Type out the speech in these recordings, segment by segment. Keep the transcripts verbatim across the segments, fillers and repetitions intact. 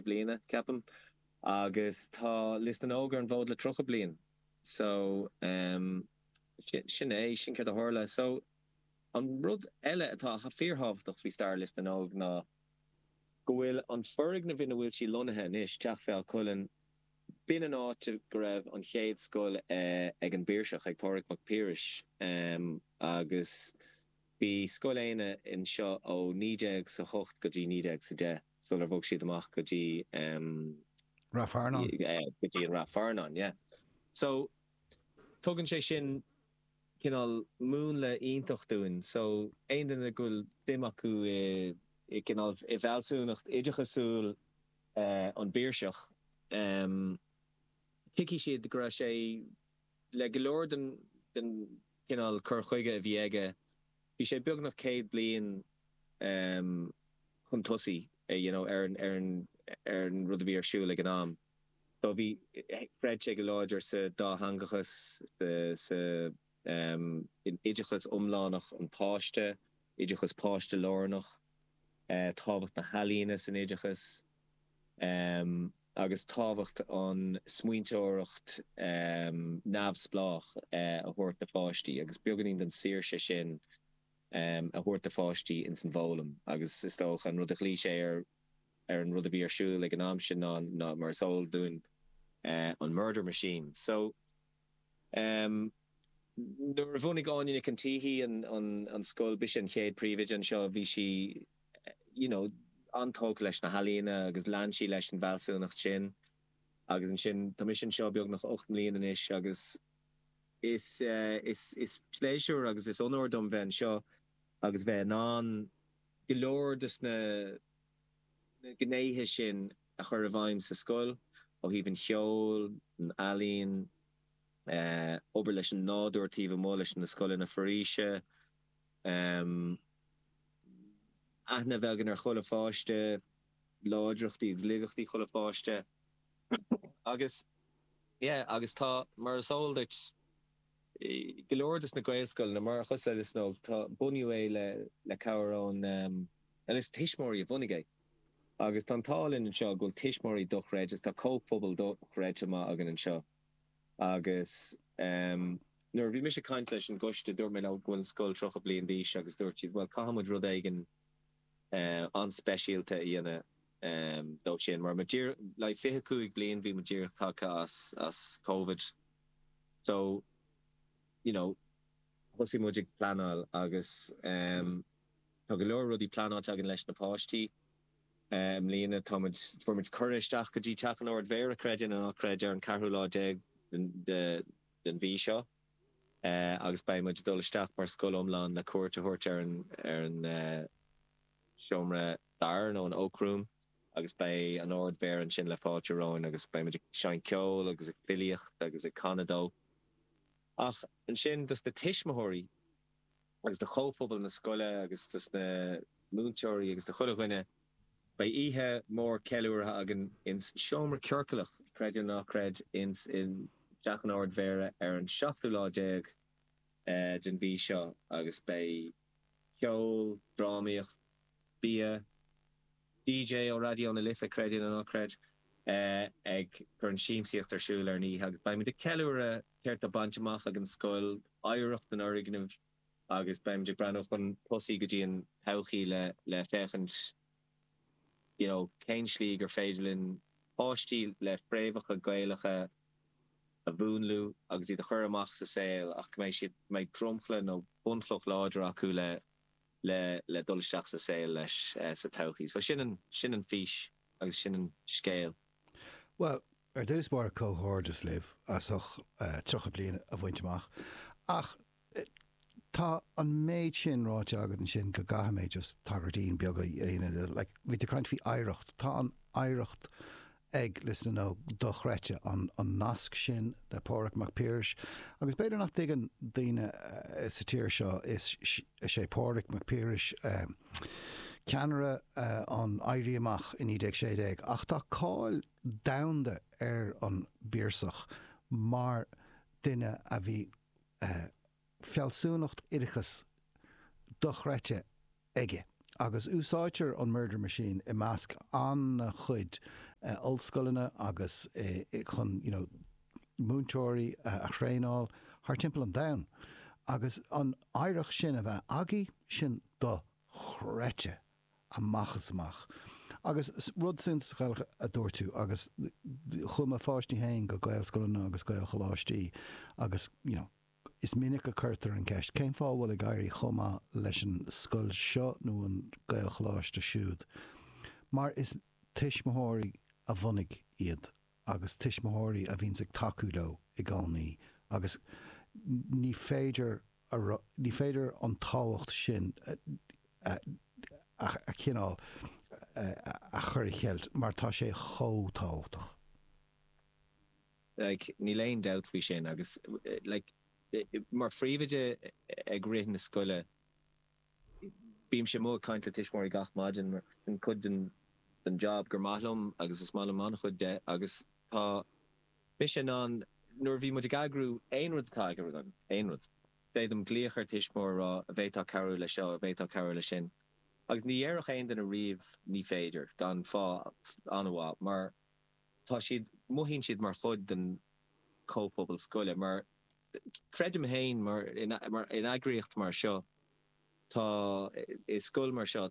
bliana, ceapaim, agus tá Lios na nÓg ar an bhfód le tríocha bliain. So um, sin é, sin céard a tharla. So an rud eile atá fíorthábhachtach faoi stair Lios na nÓg ná go bhfuil an foirgneamh ina bhfuil sí lonnaithe anois, Teach Bhéal Cuilinn, b'in an áit go raibh an chéad scoil ag an bPiarsach, ag Pádraig Mac Piarais, agus bhí Scoil Éanna anseo ó naoi déag sa hocht go dtí naoi déag sa deich sular bhog siad amach go dtí Rath Fearnáin. Go dtí an Rath Fearnáin, yeah. So tugann sé sin cineál múnla iontach dúinn. So aon duine go bhfuil suim acu i i gcineál i bhfealsúnacht oideachasúil an bPiarsach, tuigfidh siad go raibh sé le go leor den den chineál cur chuige a bhí aige, bhí sé beagnach céad bliain chun tosaigh you know ar an ar an ar an rud a bhí ar siúl ag an am. So bhí, chreid sé go láidir sa dátheangachas, sa sa in oideachas iomlánach an pháiste, oideachas páiste-lárnach, tábhacht na healaíona san oideachas, agus tábhacht an smaointeoireacht neamhspleách a thabhairt do pháistí agus beagáinín den saoirse sin a thabhairt do pháistí ins an bhfoghlaim. Agus is dócha an rud a ghlaoigh sé ar ar an rud a bhí ar siúl ag an am sin ná ná mar is eol dúinn an murder machine. So nuair a bhunaigh Áine Nic an tSíthigh an an an scoil, b'ise an chéad príomhoide anseo, bhí sí you know an-tógtha leis na healaíona agus lean sí leis an bhfealsúnacht sin. Agus ansin tá mise anseo beagnach ocht mbliana anois agus is is is pléisiúr agus is onóir dom bheith anseo agus bheith in ann go leor de na na gnéithe sin a chur i bhfeidhm sa scoil, ó thaobh an cheoil, an ealaín, obair leis an nádúr taobh amuigh leis na scoileanna foraoise, aithne a bheith againn ar chuile pháiste, láidreachtaí agus laigeachtaí chuile pháiste agus yeah agus tá, mar is eol duit, go leor de na Gaelscoileanna, mar cosúil le Lios na nÓg, tá, bunaíodh é le le cabhair ón, bhuel is tuismitheoirí a bhunaigh é agus tá an t-ádh linn anseo go bhfuil tuismitheoirí dochreidte, tá comhphobal dochreidte maith againn anseo agus nuair a bhí mise ag caint leis an gcoiste dúirt mé leo go bhfuil an scoil tríocha bliain d'aois agus dúirt siad bhuel caithfidh muid rud éigin an-speisialta a dhéanamh dó sin mar muid díreach like fiche cúig bliain bhí muid díreach tagtha as as Covid so you know thosaigh muid ag pleanáil agus tá go leor rudaí pleanáilte againn leis na páistí i mbliana. Tá muid, fuair muid cuireadh isteach go dtí Teach an Ard-Mhéara, creid é nó ná creid, ar an ceathrú lá déag den mhí seo agus beidh muid ag dul isteach mar scoil iomlán le cuairt a thabhairt ar an ar an seomra dair nó an Oak Room agus beidh an Ard-Mhéara ansin le fáilte romhainn agus beidh muid ag seinnt ceoil agus ag filíocht agus ag canadh dó. Ach ansin dos na tuismitheoirí agus do chomhphobal na scoile agus dos na múinteoirí agus do chuile dhuine, beidh oíche mhór ceiliúrtha againn ins an seomra ciorclach, creid é nó ná creid, ins in Teach an Ard-Mhéara ar an seachtú lá déag den mhí seo agus beidh ceol, drámaíocht, bia, DJ ó Raidió na Life, creid é nó ná creid, ag cur an siamsaíocht ar siúl ar an oíche agus beimid ag ceiliúradh céard tá bainte amach ag an scoil, oidhreacht an fhoirgnimh agus beimid ag breathnú chun tosaigh go dtí an todhchaí le le féachaint you know cén slí gur féidir linn páistí le fréamhacha Gaelacha a mhúnlú agus iad a chur amach sa saol ach go mbeidh siad, go mbeidh dromchla nó bunchloch láidir acu le le le dul isteach sa saol leis sa todhchaí. So sin an sin an fís agus sin an scéal. Bhuel, ar dtús báire comhghairdeas libh as ucht tríocha bliain a bhaint amach. Ach tá an méid sin ráite agat ansin go gcaithfidh mé just tagairtín beag a dhéanamh de. Like, bhí tú ag caint faoi oidhreacht. Tá an oidhreacht ag Lios na nÓg dochreidte, an nasc sin le Pádraig Mac Piarais. Agus b'fhéidir nach dtuigeann daoine sa tír seo, is é Pádraig Mac Piarais ceannaire an Éirí Amach i naoi déag sé déag, ach tá cáil domhanda ar an bPiarsach mar duine a bhí fealsúnacht oideachais dochreidte aige agus úsáidtear an murder machine i measc an-chuid ollscoileanna agus chun you know múinteoirí a thraenáil thar timpeall an domhain. Agus an oidhreacht sin a bheith agaibh, sin dochreidte amach is amach. Agus rud suntasach eile a dúirt tú, agus chuaigh mo pháistí féin go Gaelscoileanna agus Gaelcholáistí agus you know, is minic a cuirtear an ceist, cén fáth a bhfuil ag éirí chomh maith leis an scoil seo nó an Gaelcholáiste siúd? Mar is tuismitheoirí a bhunaigh iad agus tuismitheoirí a bhíonns ag tacú leo i gcónaí agus ní féidir a ní féidir an tábhacht sin a a chineál a chur a cheilt mar tá sé chomh tábhachtach. Like, níl aon dabht faoi sin agus like, mar phríomhoide ag rith na scoile bímse amuigh ag caint le tuismitheoirí gach maidin mar sin cuid den den job gur maith liom agus is maith liom an-chuid de agus tá mise in ann nuair a bhí muid ag eagrú aon rud atá eagraithe agam, aon rud, féadaim glaoch ar tuismitheoir a rá an bhféadfá cabhrú le seo, an bhféadfá cabhrú le sin agus ní dhéarfadh aon duine riamh ní féidir gan fáth an-mhaith mar tá siad, mothaíonn siad mar chuid den chomhphobal scoile mar creidim féin mar in eagraíocht mar seo tá i scoil mar seo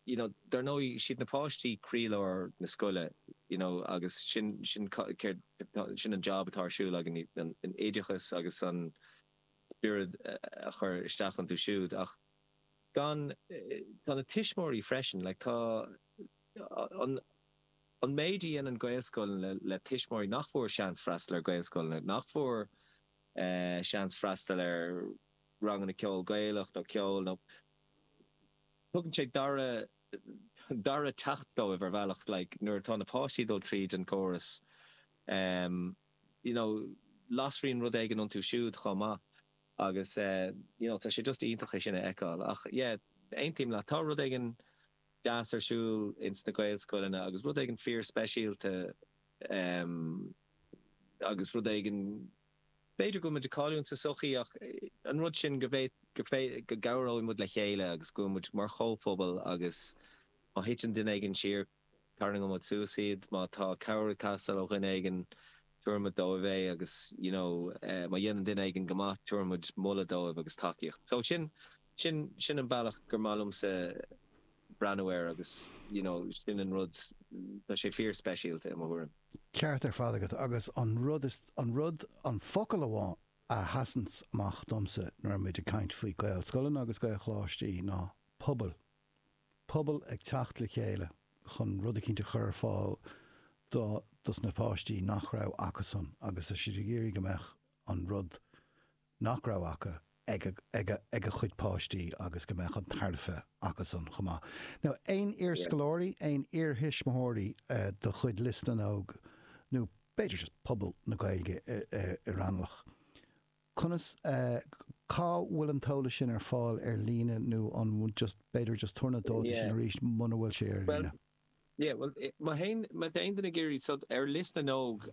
you know dar ndóigh siad na páistí croílár na scoile you know agus sin sin céard sin an job atá ar siúl againn an an oideachas agus an spiorad a chur isteach iontu siúd ach gan tá na tuismitheoirí freisin like tá an an méid a dhéanann Gaelscoileanna le le tuismitheoirí nach bhfuair seans freastal ar Ghaelscoileanna nach bhfuair eh seans freastal ar ranganna ceoil Gaelach nó ceol nó tugann sé dara dara teacht dóibh ar bhealach like nuair atá na páistí ag dul tríd an gcóras em you know lasraíonn rud éigin iontu siúd chomh maith agus eh you know tá sé just iontach é sin a fheiceáil ach yeah aontaím leat tá rud éigin deas ar siúl ins na Gaelscoileanna agus rud éigin fíor speisialta em agus rud éigin B'fhéidir go bhfuil muid ag cailliúint sa tsochaí ach an rud sin go go gcabhróidh muid le chéile agus go bhfuil muid mar chomhphobal agus má thiteann duine éigin siar, tarraingeoidh muid suas iad, má tá cabhair ag teastáil ó dhuine éigin, tabharfaidh muid dóibh é agus you know má dhéanann duine éigin go maith, tabharfaidh muid moladh dóibh agus tacaíocht. So sin, sin, sin an bealach gur maith liomsa breathnú air agus you know sin an rud, tá sé fíor speisialta i mo thuairim. Ceart ar fad agat agus an rud is, an rud, an focal amháin a sheasanns amach domsa nuair a muid ag caint faoi Gaelscoileanna agus Gaelcholáistí ná pobal. Pobal ag teacht le chéile chun rud eicínt a chur ar fáil do, dos na páistí nach raibh acusan agus tá siad ag iarraidh go mbeadh an rud nach raibh acu ag ag a gcuid páistí agus go mbeadh an tairbhe acusan chomh maith. Now, aon iarscoláirí, aon iarthuismitheoirí de chuid Lios na nÓg nó b'fhéidir just pobal na Gaeilge i Raghnallach, conas, cá bhfuil an t-eolas sin ar fáil ar líne nó an just, b'fhéidir just tabhair na dátaí sin arís muna bhfuil sé ar líne? Yeah, well, má théann, má tá aon duine ag iarraidh, so ar Lios na nÓg,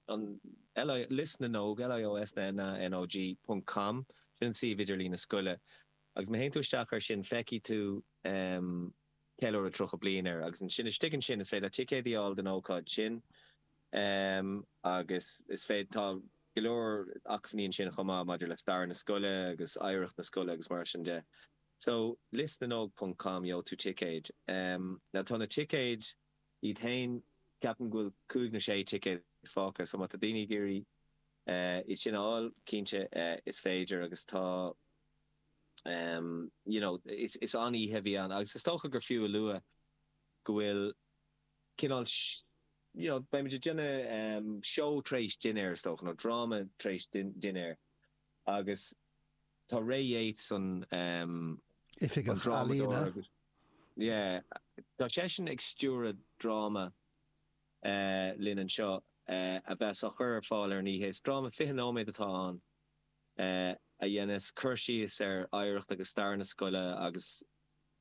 an L I, Lios na nÓg, L I O S N A N O G ponc com, sin an suíomh idirlín na scoile, agus má théann tú isteach air sin feicfidh tú em ceiliúradh tríocha bliain air, agus ansin istigh ansin is féidir leat ticéad a fháil don ócáid sin, em agus is féidir, tá go leor acmhainní ansin chomh maith maidir le stair na scoile agus oidhreacht na scoile agus mar sin de. So, liosnanog ponc com, gheobhaidh tú ticéid. Now tá na ticéid iad féin, ceapaim go bhfuil cúig nó sé ticéad fágtha, so má tá daoine ag iarraidh iad sin a fháil, cinnte is féidir agus tá you know, is an-oíche a bhí ann agus is dócha gur fiú a lua go bhfuil cineál you know, beimid ag déanamh seó tar éis dinnéir is dócha, nó dráma tar éis dinnéir agus Tá Ray Yeates an an Oifigeach drámadóir Ealaíona. agus yeah tá seisean ag stiúradh dráma linn anseo a bheas á chur ar fáil ar an oíche. Is dráma fiche nóiméad atá ann a dhéanas cur síos ar oidhreacht agus stair na scoile agus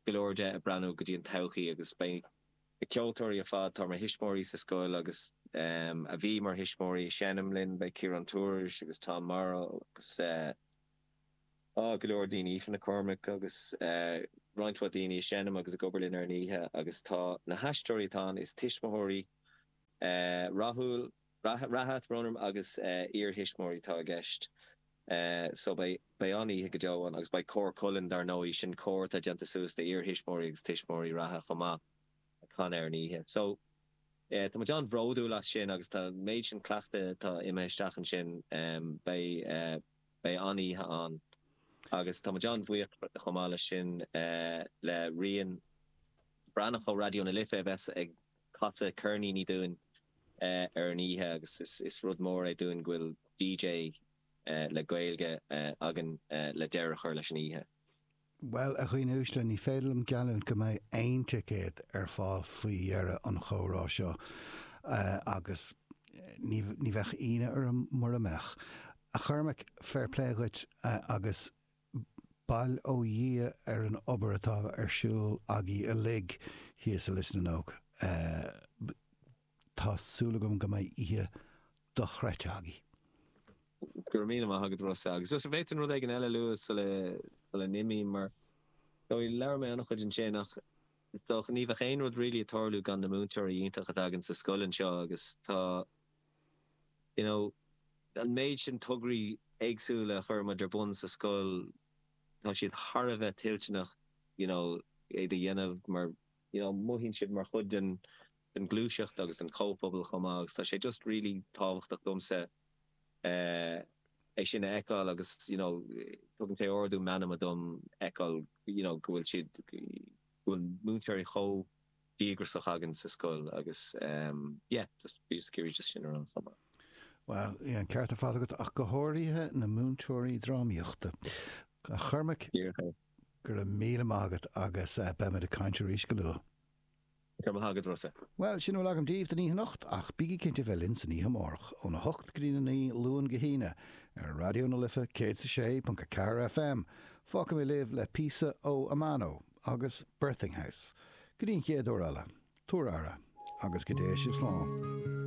go leor de ag breathnú go dtí an todhchaí agus beidh na ceoltóirí ar fad atá mar thuismitheoirí sa scoil agus a bhí mar thuismitheoirí ag seinm linn, beidh Ciarán Tourish agus Tom Morrow agus. Tá go leor daoine, Aoife McCormack agus roinnt mhaith daoine ag seinm agus ag obair linn ar an oíche agus tá na haisteoirí atá ann, is tuismitheoirí Rathúil, reatha, brón orm, agus iar-thuismitheoirí atá i gceist. So beidh, beidh an-oíche go deo ann agus beidh Cór Culann dar ndóigh, sin cór atá déanta suas de iar-thuismitheoirí agus tuismitheoirí reatha chomh maith ag canadh ar an oíche. So tá muid an-bhródúil as sin agus tá an méid sin cleachtaidh atá imithe isteach ansin, beidh, beidh an-oíche ann agus tá muid an-bhuíoch chomh maith leis sin le Rian Breathnach ó Raidió na Life a bheas ag casadh ceirníní dúinn ar an oíche agus is rud mór é dúinn go bhfuil DJ le Gaeilge againn le deireadh a chur leis an oíche. Bhuel, a dhaoine uaisle, ní féidir liom geallúint go mbeidh aon ticéad ar fáil faoi dheireadh an chomhrá seo, agus ní bheadh ionadh orm mura mbeadh. A Chormaic, fair play dhuit agus bail ó Dhia ar an obair atá ar siúl agaibh uilig thíos i Lios na nÓg. Tá súil agam go mbeidh oíche dochreidte agaibh. Go raibh míle maith agat, Rossa. Agus just an bhféadfainn rud éigin eile a lua sula sula n-imím, mar labhair mé an-chuid ansin ach is dócha ní bheadh aon rud really ag tarlú gan na múinteoirí iontacha atá againn sa scoil anseo agus tá you know an méid sin tograí éagsúla a chuir muid ar bun sa scoil, tá siad thar a bheith toilteanach you know iad a dhéanamh mar you know mothaíonn siad mar chuid den den ghluaiseacht agus den chomhphobal chomh maith agus tá sé just really tábhachtach domsa é sin a fheiceáil agus you know tugann sé ardú meanma dom fheiceáil you know go bhfuil siad go bhfuil múinteoirí chomh díograiseach againn sa scoil agus yeah just bhí just ag iarraidh just sin a rá chomh maith. Bhuel, yeah, an ceart ar fad agat ach go háirithe na múinteoirí drámaíochta. A Chormaic, Díreach é. go raibh míle maith agat agus beimid ag caint arís go luath. Go raibh maith agat, Rossa. Bhuel, sin a bhfuil agam daoibh don oíche anocht, ach bígí cinnte bheith linn san oíche amárach, óna hocht go dtí a naoi, Luan go hAoine, ar Raidió na Life céad is a sé ponc a ceathair FM. Fágfaidh mé libh le píosa ó Amano agus Birthing House. Go dtí an chéad uair eile, tabhair aire, agus go dté sibh slán.